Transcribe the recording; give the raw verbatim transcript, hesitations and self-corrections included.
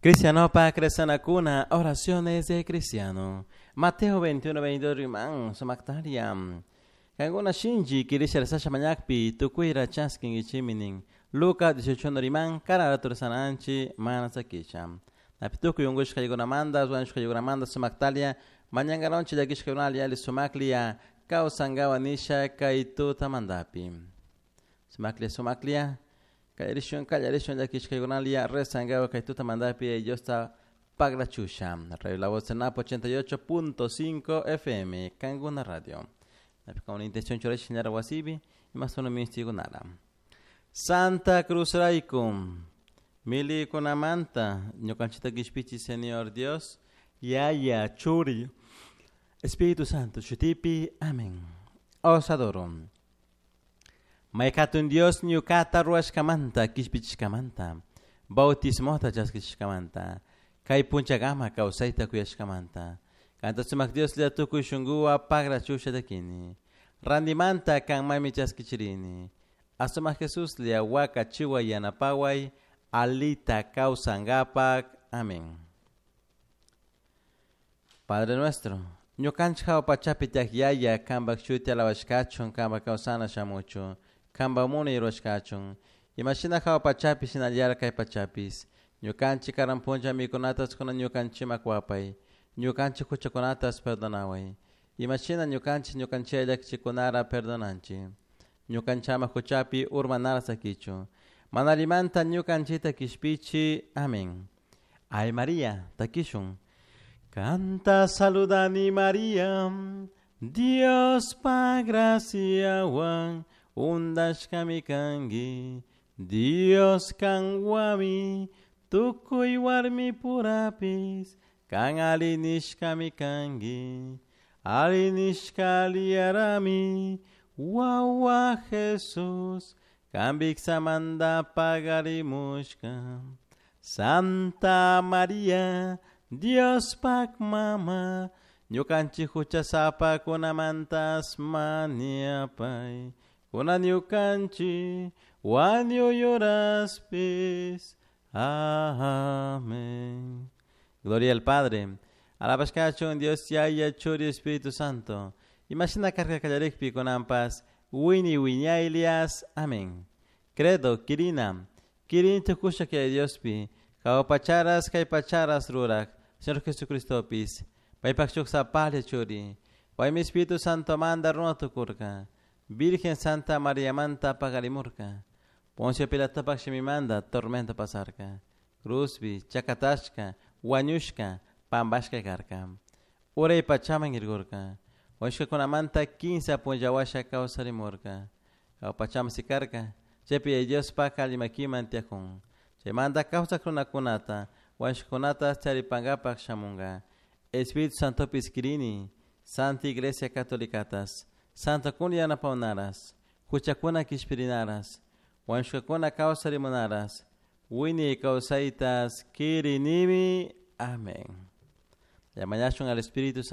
Cristiano pa cuna, oraciones de cristiano. Mateo veintiuno, veintidós riman, sumaktariam. Kankuna shinchi kirisha rezasha mañakpi, tukuyra chaskinkichiminin. Lucas dieciocho riman, cara sananchi, mana sakisha. Napi tukuy unkushkaykunamanta, wañushkaykunamanta sumaktalia, mañankaronchi llakishkaykunalla ali sumaklia, kawsankawa nisha kay tutamantapi. Sumaklia, sumaklia, kallarishun, kallarishun llakishkaykunalia, rezankawa kay tutamantapi, Diosta paglachusha. Radio La Voz Napo ochenta y ocho punto cinco F M, Kanguna Radio. Con intención churash ñara wasibi, y más uno mistigunara. Santa Cruz Raikum, mili kunamanta, ñukanchita kishpichi Señor Dios, Yaya, Churi, Espíritu Santo, Chutipi, amén. Os adoro. Maikatun Dios ñukata ruashkamanta, kishpichishkamanta, bautismota chaskishkamanta, kay punchagama kawsayta kuyashkamanta. Kanta sumak Dios le tukuy shunguwa pagra chusha takini. Randimanta kan mami chaskichirini. Asuma Jesús le aguaca chiwa yanapaway, alita kawsangapak. Amén. Padre nuestro, ñukanchik pachapi tiak yaya, kambak shuti alabashkachun, kambak kawsana shamuchu, kambak munay ruashkachun. Imashina hawa pachapi shinallara kay pachapis. Ñukanchik karan puncha mikunatas kuna ñukanchimak wapay. Ñukanchik huchakunatas perdonaway. Imashina ñukanchik ñukanchilla llakichikunara perdonanchik. Ñukanchama huchapi urmanara sakichu. Manalimanta ñukanchita kishpichi. Amén. Ay María, takishun. Canta saludani María, Dios pa gracia wan, undashkami kangi, Dios kanwami, tukuy warmi purapis, kan alinishkami kangi, alinishka liarami, wawa Jesús, kan biksamanda pagarimushka. Santa María, Dios pak mama, ñukanchik huchasapa kunamantas maniapay, kuna ñukanchik wañuyuraspis. Amén. Gloria al Padre, alabashkachun Dios Yaya, Churi, Espíritu Santo. Imagina carga kallarikpi kunampas, wini wiñaylias. Amén. Credo, Kirina, Kirin tukusha que Diospi, kawpacharas kaypacharas rurak, Señor Jesucristopis, paypak shuk sapalya churi, paymi Espíritu Santo manda runa tukurka, Virgen Santa María manta pagarimurka, Poncio Pilatopak shimimanda tormenta pasarka, Cruzbi, chakatashka, wañushka, pambashka karka, uray pachaman irgurka, wañushkakunamanta kinsa punllawasha kawsarimurka, kawpachaman sikarka, chaypi Diospak allimakiman tiyakun, chaymanta kawsak runakunata, wañushkakunata charipankapak shamunka, Espíritu Santopis kirini, Santa Iglesia Catolicatas, Santa kuna yanapawnaras, huchakuna kishpirinaras, wañushkakuna kawsarimunaras, wini kawsaytas kirinimi. Amén. Llamañashun al Espíritu Santo.